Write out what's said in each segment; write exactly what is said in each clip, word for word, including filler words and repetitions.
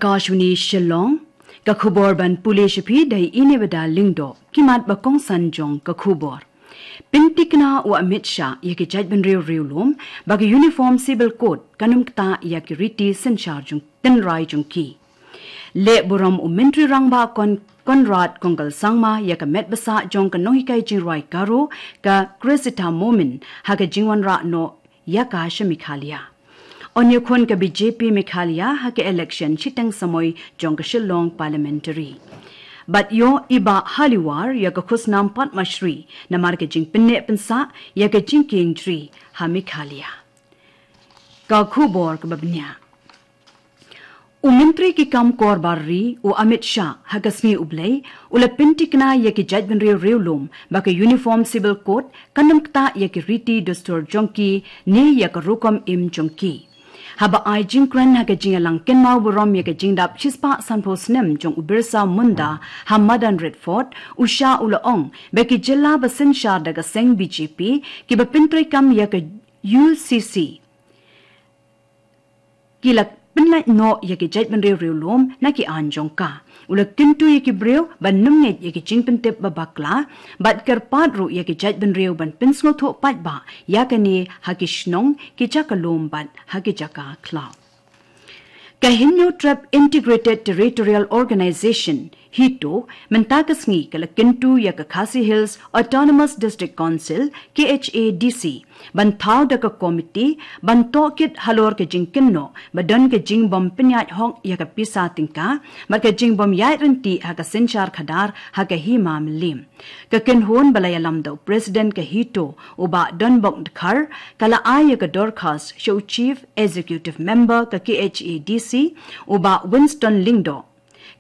Kashwani Shillong, ka khubor ban pule sha phi da i Nebada Lyngdoh, ki mat ba kongsan jong ka khubor. Pyntikna u Amit Shah ïa ki jaitbynriew riewlum, ba ka Uniform Civil Code kan ym ktah ïa ki riti synshar jong tynrai jong ki. Leh burom u Myntri Rangbah Kon-, Conrad Kongkal Sangma ïa ka met ba sah jong ka nonghikai jingrwai Garo ka Cressida Momin ha ka jingwanrah noh ïa ka sha Meghalaya. Yn ïakhun ka B J P Meghalaya ha ka election shiteng samoi jong ka Shillong Parliamentary. Bad ïoh i Bah Haliwar ïa ka khusnam Padma Shri namar ka jingpynneh pynsah ïa ka jingkieng jri ha Meghalaya. Ka khubor kaba bniah. U Myntri ki kam kor bar ri, u Amit Shah, ha ka sngi U Blei, u la pyntikna ïa ki jaitbynriew riewlum, ba ka Uniform Civil Code kan ym ktah ïa ki riti dustur jong ki, ne ïa ka rukom im jong ki. Haba ai jingkren ha ka jingïalang kynmaw burom ïa ka jingdap shispah sanphew snem jong u Birsa Munda ha madan Red Fort, u Shah u la ong ba ki jylla ba synshar da ka seng B J P, kiba pyntreikam ïa ka U C C, ki la pynlait noh ïa ki jaitbynriew riewlum na ki aiñ jong ka. U la kyntu ïa ki briew ban ym ngeit ïa ki jingpyntip ba bakla, bad kyrpad ruh ïa ki jaitbynriew ban pynsngewthuh paidbah ïa kane ha ki shnong, ki jaka lum bad ha ki jaka khlaw. Ka Hynñiewtrep Trep Integrated Territorial Organization, HITO, mynta ka sngi ka la kyntu ïa ka Khasi Hills Autonomous District Council, K H A D C, ban thaw da ka komiti ban tohkit halor ka jingkynnoh ba don ka jingbym pynïaid hok ïa ka pisa tyngka, bad ka jingbym ïaid ryntih ha ka synshar khadar ha ka hima Mylliem. Ka kynhun ba la ïalam da u President ka HITO, u Bah Donbok Dkhar, ka la ai ïa ka dorkhas sha u Chief Executive Member ka K H A D C, u Bah Winston Lyngdoh.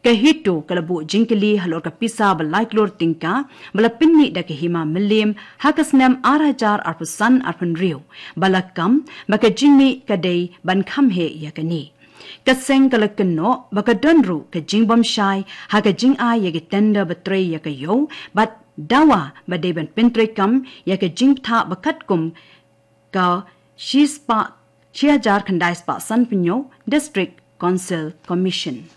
Ka HITO ka la buh jingkylli halor ka pisa ba lai klur tyngka ba la pynmih da ka hima Mylliem ha ka snem ar hajar arphew san arphew hynriew, ba la kam ba ka jingmih ka dei ban kham heh ïa kane. Ka seng ka la kynnoh ba ka don ruh ka jingbymshai ha ka jingai ïa ki tender ba trei ïa ka ïew, bad dawa ba dei ban pyntreikam ïa ka jingbthah ba katkum ka shispah, shi hajar khyndai spah sanphew hynñiew District Council Commission.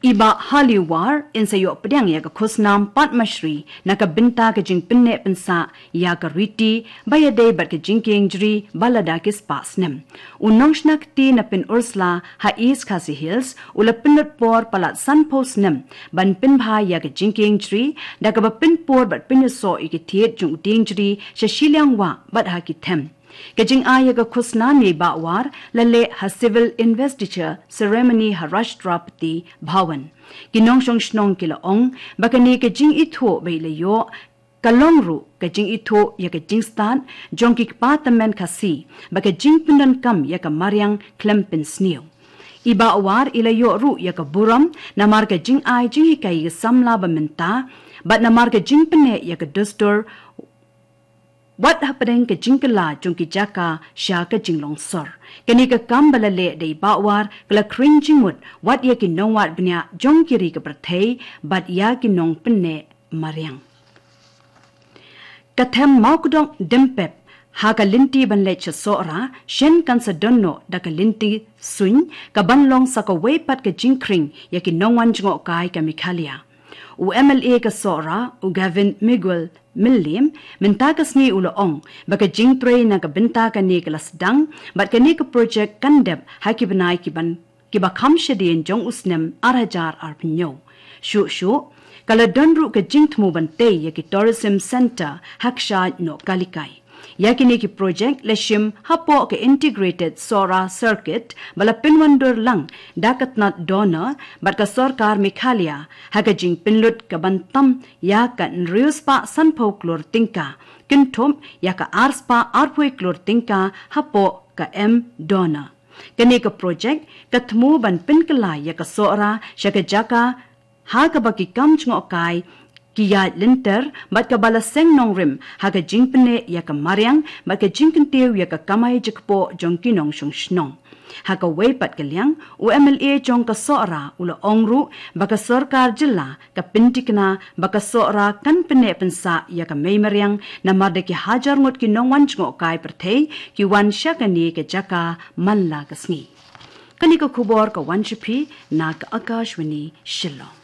I Bah Haliwar yn sa ïoh pdiang ïa ka khusnam Padma Shri na ka bynta ka jingpynneh pynsah ïa ka riti ba ïadei bad ka jingkieng jri ba lada ki spah snem. U nongshna kti na Pynursla ha East Khasi Hills u la pynlut por palat sanphew snem ban pynbha ïa ka jingkieng jri, da kaba pynpur bad pynïasoh ïa ki thied jong u dieng jri sha shiliang wah bad ha ki them. Ka jingai ïa ka khusnam ïa i Bah War la leh ha Civil Investiture Ceremony ha Rashtrapati Bhavan. Ki nongshong shnong ki la ong ba kane ka jingithuh ba i la ïoh ka long ruh ka jingithuh ïa ka jingstad jong ki kpa tymmen Khasi, ba ka jingpyndonkam ïa ka mariang khlem pynsniew. I Bah War i la ïoh ruh ïa ka burom namar ka jingai jinghikai ïa ka samla ba mynta, bad namar ka jingpynneh ïa ka dustur wat hapdeng ka jingkylla jong ki jaka sha ka jinglong sor. Kane ka kam ba la leh da i Bah War ka la khring jingmut wat ïa ki nongwad bniah jong ki ri ka pyrthei bad ïa ki nongpynneh mariang. Ka them Mawkdong Dympep ha ka lynti ban leit sha Sohra, shen kan sa don noh da ka lynti suiñ, ka ban long sa kawei pat ka jingkhring ïa ki nongwan jngohkai ka Meghalaya. U M L A ka Sohra, u Gavin Miguel Mylliem, mynta ka sngi u la ong ba ka jingtrei na ka bynta kane ka la sdang, bad kane ka projek kan dep ha ki bnai ki ban, ki ba kham shadien jong u snem ar hajar arphew hynñiew. Shuh shuh ka la don ruh ka jingthmu ban tei ïa ki tourism centre ha kshaid Nohkalikai. Ïa kine ki projek la shim hapoh ka Integrated Sohra Circuit ba la pynwandur lang da ka tnat DoNER bad ka sorkar Meghalaya, ha ka jingpynlut ka ban tam ïa ka hynriew spah sanphew klur tyngka, kynthup ïa ka ar spah arphew klur tyngka hapoh ka M DoNER. Kane ka projek ka thmu ban pynkylla ïa ka Sohra sha ka jaka ha kaba ki kam jngohkai ki ïaid lynter, bad kaba la seng nongrim ha ka jingpynneh ïa ka mariang bad ka jingkyntiew ïa ka kamai jakpoh jong ki nongshong shnong. Ha kawei pat ka liang, u M L A jong ka Sohra u la ong ruh ba ka sorkar jylla ka pyntikna ba ka Sohra kan pynneh pynsah ïa ka mei mariang, namar da ki hajar ngut ki nongwan jngohkai pyrthei ki wan sha kane ka jaka man la ka sngi. Kane ka khubor ka wan sha phi na ka Akashvani Shillong.